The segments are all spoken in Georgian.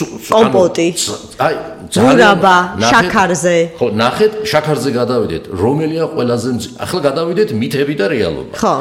კომპოტი. აი, ძურაბა, შაქარზე. ხო, ნახეთ, შაქარზე გადავიდეთ. რომელია ყველაზე ახლა გადავიდეთ მითები და რეალობა. ხო,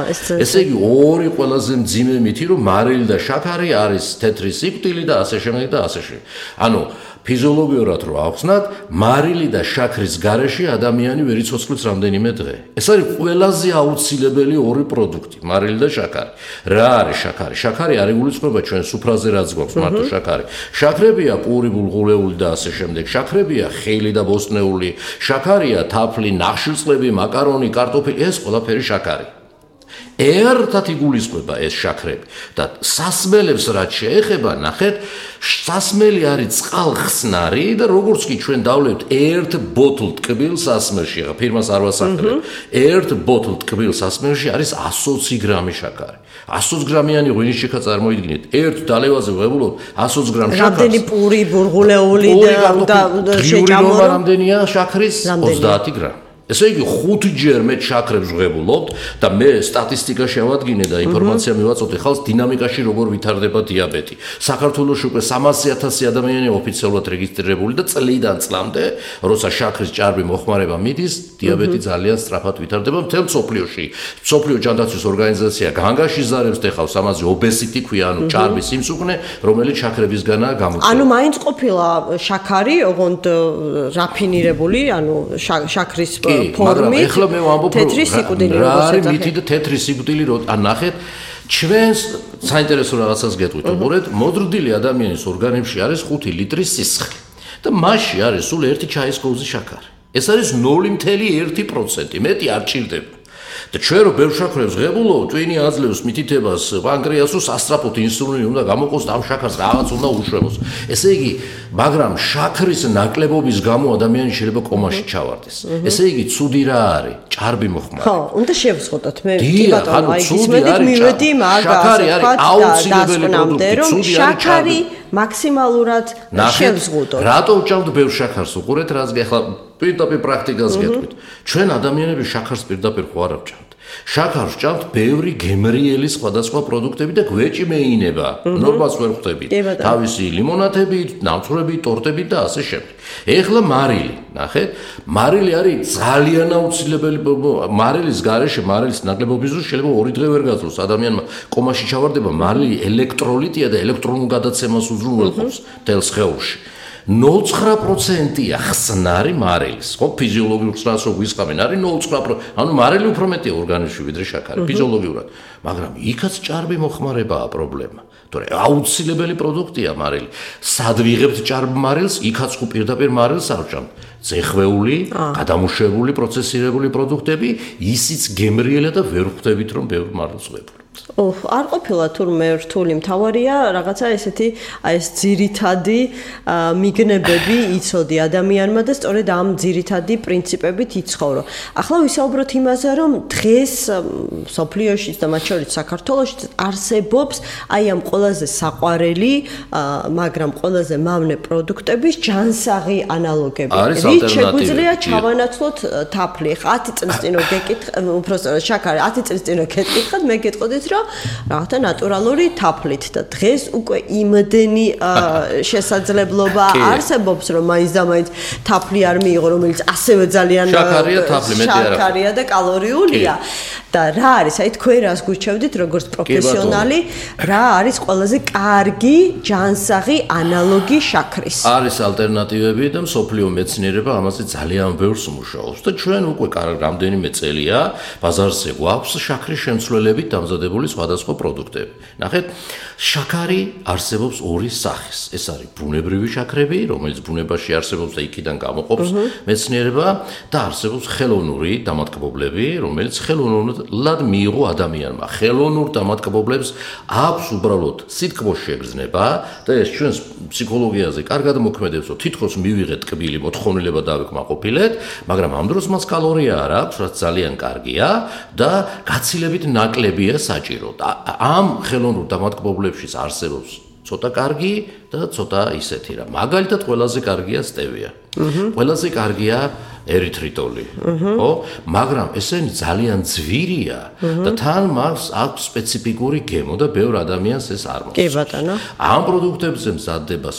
ესე იგი, ორი ყველაზე მძიმე მითი, რომ მარილი და შაქარი არის თეთრი სიკვდილი და ასე შემდეგ და ასე შემდეგ. ანუ ფიზიოლოგიურად რო ახსნათ, მარილი და შაქრის გარეშე ადამიანი ვერ იცოცხლებს რამდენიმე დღე. ეს არის ყველაზე აუცილებელი ორი პროდუქტი, მარილი და შაქარი. რა არის შაქარი? შაქარი არ იგულისხმება ჩვენ სუფრაზე რაც გვაქვს მარტო შაქარი. შაქრებია პური, ბულღურეული და ასე შემდეგ. შაქრებია ხილი და ბოსტნეული. შაქარია თაფლი, ნახშირწყლები, მაკარონი, კარტოფილი, ეს ყველაფერი შაქარი. ერთად იგულისხმება ეს შაქრები და სასმელებს რაც შეეხება, ნახეთ, სასმელი არის წყალხსნარი და როგორც კი ჩვენ დავლევთ ერთ ბოთლ ტკბილ სასმელში, ახლა ფირმას არ ვასახელებ, ერთ ბოთლ ტკბილ სასმელში არის 120 გრამი შაქარი. 120 გრამიანი ღვინიშჩიქა წარმოიდგინეთ, ერთ დალევაზე ვღებულობ 120 გრამ შაქარს. რამდენი პური, ბურღულეული და შეჭამო რამდენია შაქრის? 30 გრამი. ესე იგი 5 ჯერ მეტ შაქრებს ვღებულობთ და მე სტატისტიკა შევადგინე და ინფორმაცია მივაწოდე ხალხს დინამიკაში როგორ ვითარდება დიაბეტი. საქართველოში უკვე 300,000 ადამიანი ოფიციალურად რეგისტრირებული და წლიდან წლამდე, როცა შაქრის ჭარბი მოხმარება მიდის, დიაბეტი ძალიან სწრაფად ვითარდება მთელ მსოფლიოში. მსოფლიო ჯანდაცვის ორგანიზაცია განგაშიზარებს დეხავს ამაზე obesity ქვია, ანუ ჭარბი სიმსუქნე, რომელიც შაქრებისგანაა გამოწვეული. ანუ მაინც ყოფილა შაქარი, ოღონდ რაფინირებული, ანუ შაქრის მაგრამ ეხლა მე ვამბობ თეთრი სიკვდილი რა არის მითი და თეთრი სიკვდილი რო ნახეთ ჩვენს საინტერესო რაღაცას გეტყვით უყურეთ მოდრდილი ადამიანის ორგანიზმში არის 5 ლიტრი სისხლი და მასში არის სულ 1 ჩაის კოვზი შაქარი ეს არის 0.1% მეტი არ ჭირდება და ჩვენ რო ბევრ შაქრებს ღებულობთ ტვინი აძლევს მითითებას პანკრეასს სასწრაფოდ ინსულინი უნდა გამოყოს და ამ შაქარს რაღაც უნდა უშვებოს ესე იგი მაგრამ შაქრის ნაკლებობის გამო ადამიანი შეიძლება კომაში ჩავარდეს ესე იგი ცუდი რა არის ჭარბი მოხმარი ხო უნდა შევსხოთ მე კი ბატონო აი ისმედით მივედი შაქარი არის აუცილებელი პროდუქტი ცუდი არის შაქარი მაქსიმალურად შევსღუდოთ რატო ვჭამთ ბევრ შაქარს უყურეთ რაც ახლა პირდაპირ პრაქტიკას გეტყვით ჩვენ ადამიანები შაქარს პირდაპირ ხო არ ვჭამთ შაქარს ვჭამთ ბევრი გემრიელი სხვადასხვა პროდუქტები და გვეჭი მეინება ნორმალს ვერ ხვდებით თავისი ლიმონადები ნავთვრები ტორტები და ასე შემდეგ ეხლა მარილი ნახეთ მარილი არის ძალიან აუცილებელი მარილის გარეშე მარილის ნაკლებობის დროს შეიძლება 2 დღე ვერ გაძლოს ადამიანმა კომაში ჩავარდება მარილი ელექტროლიტია და ელექტრონულ გადაცემას უზრუნველყოფს მთელ სხეულში 0.9%-ია ხსნარი მარილის. ხო, ფიზიოლოგიურ ხსნარს რო გვისყამენ, არის 0.9%. ანუ მარილი უფრო მეტია ორგანიზმში ვიდრე შაქარი, ფიზიოლოგიურად. მაგრამ იქაც ჭარბი მოხმარებაა პრობლემა. თორე აუცილებელი პროდუქტია მარილი. სად ვიღებთ ჭარბ მარილს? იქაც ხო პირდაპირ მარილს არ ვჭამთ. ზეხვეული, გადამუშავებული, პროცესირებული პროდუქტები, ისიც გემრიელა და ვერ ხვდებით რომ ბევრ მარილს ვღებულობთ. არ ყოფილა თურმე რთული მთავარია რაღაცა ესეთი აი ეს ძირითადი მიგნებები იცოდი ადამიანმა და სწორედ ამ ძირითადი პრინციპებით იცხოვრო. ახლა ვისაუბროთ იმაზე, რომ დღეს სოფლიოშიც და მათ შორის საქართველოშიც არსებობს აი ამ ყველაზე საყვარელი, მაგრამ ყველაზე მავნე პროდუქტების ჯანსაღი ანალოგები. რით შეგვიძლია ჩავანაცვლოთ თაფლი. 10 წლის წინ რო გეკითხ, უბრალოდ შაქარი 10 წლის წინ რო გეკითხათ, მე გეტყოდით რომ რაღაცა ნატურალური თაფლით და დღეს უკვე იმდენი შესაძლებლობა არსებობს რომ მაინც და მაინც თაფლი არ მიიღო რომელიც ასევე ძალიან შაქარია თაფლი მეტი არა შაქარია და კალორიულია და რა არის აი თქვენ რას გურჩევდით როგორც პროფესიონალი რა არის ყველაზე კარგი ჯანსაღი ანალოგი შაქრის არის ალტერნატივები და მსოფლიო მეცნიერება ამაზე ძალიან ბევრს მუშაობს და ჩვენ უკვე რამდენიმე წელია ბაზარზე გვაქვს შაქრის შემცველებით დამზადებული სხვადასხვა პროდუქტები. ნახეთ, შაქარი არსებობს ორი სახის. ეს არის ბუნებრივი შაქრები, რომელიც ბუნებაში არსებობს და იქიდან გამოყოფს მეცნიერება და არსებობს ხელოვნური დამატკბობლები, რომელიც ხელოვნურად მიიღო ადამიანმა. ხელოვნურ დამატკბობლებს აქვს უბრალოდ სითქმოს შეგრძნება და ეს ჩვენს ფსიქოლოგიაზე კარგად მოქმედებს, რომ თითქოს მივიღეთ ტკბილი მოთხოვნილება დავეკმაყოფილეთ, მაგრამ ამ დროს მას კალორია არ აქვს, რაც ძალიან კარგია და გაცილებით ნაკლებია საჭირო. ამ ხელოვნურ დამატკბობლებში არსებობს ცოტა კარგი და ცოტა ისეთი რა. მაგალითად ყველაზე კარგია სტევია. ყველაზე კარგია ერითრიტოლი. ხო? მაგრამ ესენი ძალიან ძვირია და თან მას აქვს სპეციფიკური გემო და ბევრ ადამიანს ეს არ მოსწონს. კი ბატონო. ამ პროდუქტებზე მზადდება